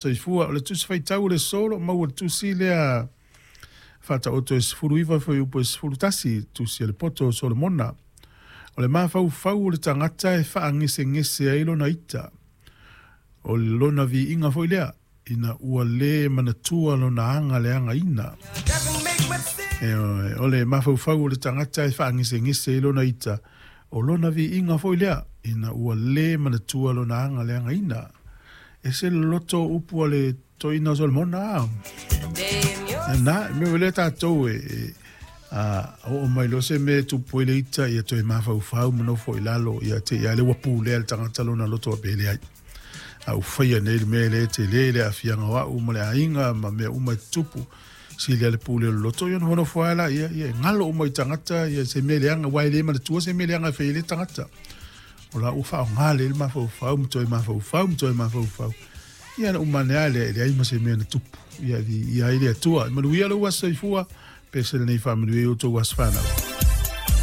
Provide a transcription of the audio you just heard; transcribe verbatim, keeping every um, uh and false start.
Soifua o le Tusi Faitau o le solo maua le tusi lea faataoto e sefulu iva fuaiupu e sefulu tasi, tusi a le poto o Solomona. O le mafaufau o le tagata e faagesegese ai lona ita, o lona viiga foi lea, ina ua lē manatua lona aga leagaina. E, o le mafaufau o le tagata e faagesegese ai lona ita, o lona viiga foi lea, ina ua lē manatua lona aga leagaina. E se loloto upu a le toeaina o Solomona. Na, me le tatou e, e a oo mai loa se mea e tupu ai le ita, ia toe mafaufau ma nofo i lalo, ia te ia le ua pulea le tagata lona loto a pele ai. A ua faia nei le mea le tele le aafiaga o au ma le aiga ma mea uma e tutupu. Sili le pule o le loto, ia nofonofo ai la, ia, ia, galo uma i tagata, ia se mea leaga, ua e le manatua se mea leaga e fai ai le tagata. O la ua faaaoga le mafaufau, ma toe mafaufau, ma toe mafaufau. Ia na uma ane lava lea, e leai ma se mea na tupu. Ia, ia ai le Atua. Manuia lou aso soifua, pe se lenei faamanuia i outou aso fanau.